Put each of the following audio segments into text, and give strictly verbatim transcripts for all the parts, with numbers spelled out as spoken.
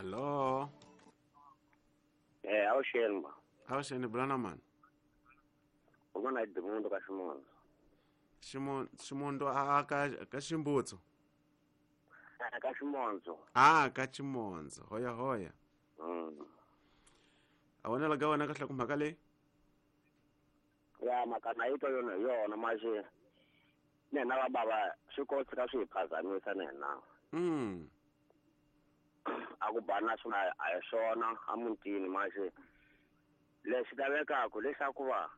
Alô. Eh, awuxeni ma. Awuxeni bulana mani. Un'wana Edmundo ka Ximondzo. Ximon Ximondzo a ka ka Ximbutsu. Ka Ximondzo. Ah, ka Ximondzo. Hoya hoya. Mm. A wena la ga wena kahle ku mhaka leyi? Ya mhaka na yi twa yona hi yona maxe. Nena va bava swi kotsi ka swi hi phazamisa nena. Mm. A ku bana swona a hi swona a mutini maxe. Lexi lavekaka leswaku va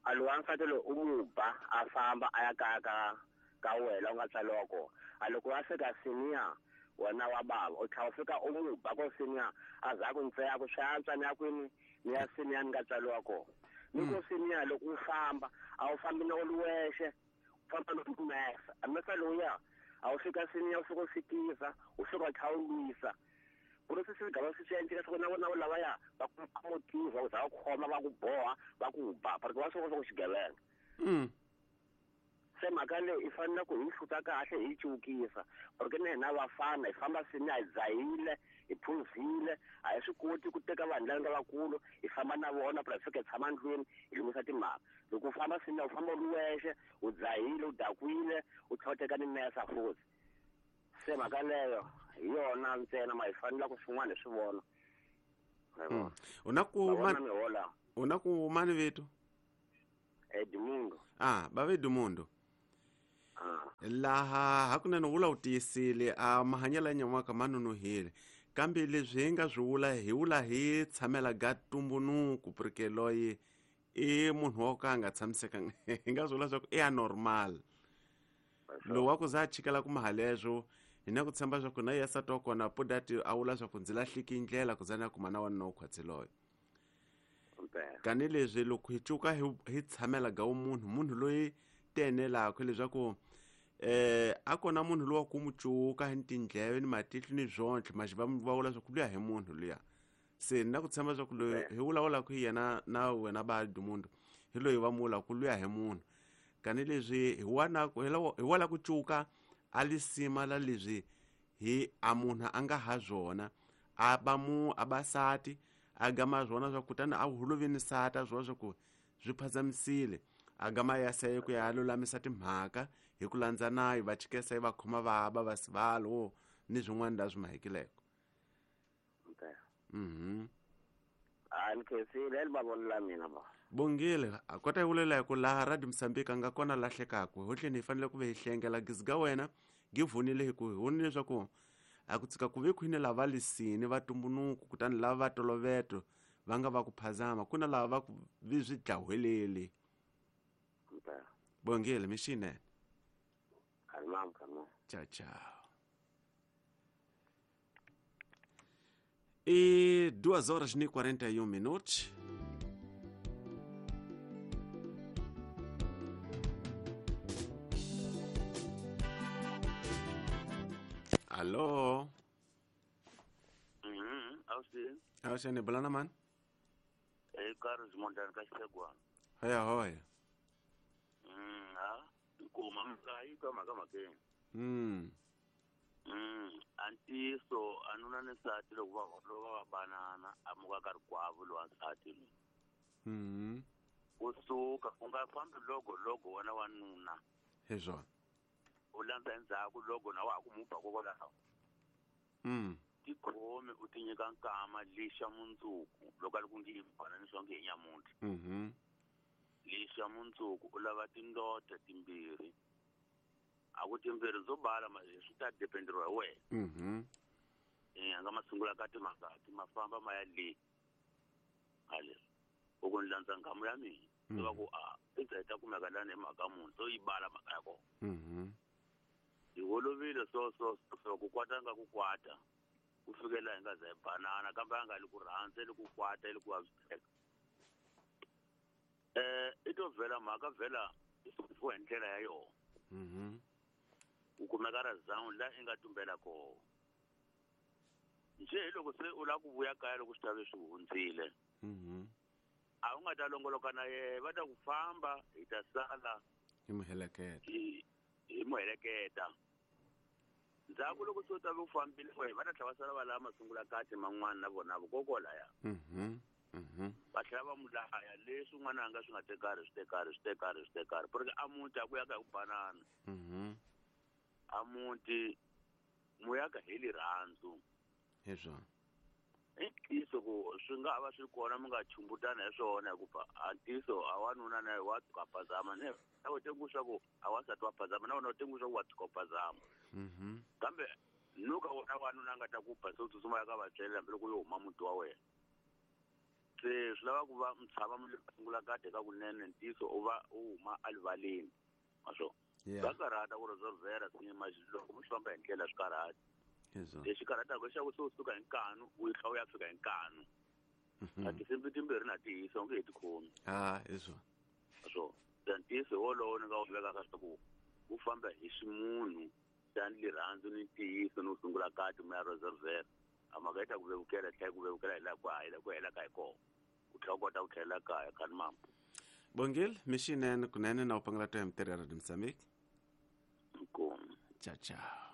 a lowa nsati loyi u n'wi ba a famba a ya kaya ka ka wena u nga tswariwa kona. A loko a fika senior wena wa bava u tlhela u fika u n'wi ba ko senior a za ku ntseya ku swi antswa ni ya kwini ni ya senior ni nga tswariwa kona. Ni ko senior loko u famba a wu fambi na u ri wexe u famba na mesa a mesa lowuya a wu fika senior u fika u fikisa u fika u tlhela u lwisa. Ku ri swi gava swi endleka swa ku na vona lavaya va ku motiva ku za va khoma va ku boha va ku ba porque va swi vona ku xigevenga. Mm. Se mhaka leyi i fanele ku hi hluta kahle hi cukisa porque na hina vafana hi famba sini hi dzahile hi phuzile a hi swi koti ku teka vanhu lava nga vakulu hi famba na vona phela hi fika hi tshama ndlwini hi lunghisa timhaka. Loko u famba sini u famba u ri wexe u dzahile u dakwile u tlhela u teka ni mesa futhi. Se mhaka leyo hi yona ntsena ma hi fanele ku swin'wana hi swi vona. U na ku u na ku mani vito? Edmundo. Ah, bava Edmundo. Ah. Laha hakunene vula u tiyisile a mahanyelo ya nyan'waka ma nonohile kambe leswi hi nga swi vula hi vula hi tshamela ga tumbunuku porque loyi i munhu wo ka a nga tshamisekanga hi nga swi vula swa ku i anormal. Lowu wa ku za a chikela ku mahaleswo hi na ku tshemba swa ku na yena nsati wa kona podati a vula swa ku ndzi lahleki ndlela ku za ni ya kuma na wanuna wo khwatsi loyi. Kani leswi loko hi cuka hi hi tshamela ga munhu munhu loyi tenelaka leswaku eh a kona munhu lowa ku mu cuka hi tindleve ni matihlo ni zvontlhe maxi va va vula swa ku luya hi munhu luya. Se ni na ku tshemba swa ku loyi hi vulavulaka hi yena na wena ba Edmundo hi loyi va mu ku luya hi munhu. Kani leswi hi wana hi wala ku cuka a lisima la leswi hi a munhu a nga ha zwona a ba mu a basati a gama zwona swa kutani a holovini sata zwona swa ku swi phazamisile a gama ya saye ku ya lulamisa timhaka hi ku landza nayo va chikesa yi va khoma va ba va sivalo ni swin'wana la swi mahekileko. Mhm. A ni khensile eli mavonelo mina ba. Bongile a kota hi vulela hi ku laha Radio Mozambique a nga kona lahlekaka hotleni hi fanele ku ve hi hlengela giziga wena gi vunile hi ku hi vonile leswaku a ku tsika ku ve khwine lava lisini va tumbunuku kutani lava va toloveto va nga va ku phazama ku na lava va ku vi swi dlaweleli. Bongile mixinene. Tchau, tchau. E duas horas e quarenta e um minutos. Alô? Mhm, awusi. Awuxeni bulana mani? Eh, Carlos Mondani ka Xegwana. Hoya hoya. Mm, ha. Nkuma mhaka yi twa mhaka mhakeni. Mm. Mm, antiso anuna ni nsati loko va loko va banana a muka ka rikwavo lowa nsati loyi. Mhm. Kusuka u nga fambi loko loko wena wanuna. Hi swona. U landza endzhaku loko na wa ha ku mu ba kokwalaho. Mm. Tikhomi u ti nyika nkama lixa mundzuku loko a ri ku ngi bana ni swa nge hi nyamuntlha. Mhm. Lixa mundzuku u lava tindota timbirhi. A ku timbirhi ndzo bala ma swi ta dependeriwa hi wena. Mhm. Eh, a nga masungula ka timhaka ti ma famba ma ya le. Hale. U ku ni landza nghamu ya mina. Mm. Va ku a i za ta kumeka lani hi mhaka munhu so yi bala mhaka ya kona. Mhm. Hi holovile so so so ku kwata nga ku kwata. Ku fikela hi nga za hi banana kambe a nga li ku rhandza li ku kwata li ku vaviseka. Eh, i to vhela mhaka vhela i sunguriwa hi ndlela ya yona. Mhm. U kumeka ra zawu la i nga tumbela kona. Nje hi loko se u lava ku vuya kaya loko swi ta ve swi hundzile. Mhm. A wu nga ta longoloka na yena va ta ku famba hi ta sala hi muheleketa. Hi hi muheleketa. Ndzhaku loko se u ta ve u fambile we va ta tlhela va sala va lava masungula kati man'wana na vona vokokwalaya. Mhm. Mhm. Va tlhela va mu laya leswi n'wana anga swi nga tekari swi tekari swi tekari swi tekari porque a muti a ku ya ka hi ku banana. Mhm. A muti mu ya ka hi rirhandzu. Hi swona. I ntiyiso ku swi nga ha va swi kona mi nga chumbutana hi swona hikuva a ntiyiso a wanuna na wa tshuka phazama ne na u tengu swa ku a wansati wa phazama na wena u tengu swa ku wa tshuka phazama. Mhm. Kambe nuka wona wanuna a nga ta ku ba se u tsutsuma ya ka vatswele hambiloko yo huma muti wa wena. Se swi lava ku va mi tshama mi sungula kade ka kunene ntiyiso u va u huma erivaleni ma swo. Yeah. Swa karhata ku resolvera loko mi swi famba hi ndlela swi karhata. Hi swona. Lexi karhataka i xa ku se u suka hi nkanu u yi tlhela u ya fika hi nkanu. A tinsimbi timbirhi na ti hisa u nge he ti khomi. Ah, hi swona. So ntiyiso wolowo ni nga wu vekaka swa ku u famba hi ximunhu xa rirhandzu ni ntiyiso no sungula kati mi ya resolvera. A mhaka yi ta ku vevukela tlhela ku vevukela hi laha ku hi laha ku helaka hi kona. U tlhela u kota ku tlhelela kaya khani mama. Bongile, mixinene kunene na u pangela to ya mitirho ya Radio Mozambique. Inkomu. Ciao ciao.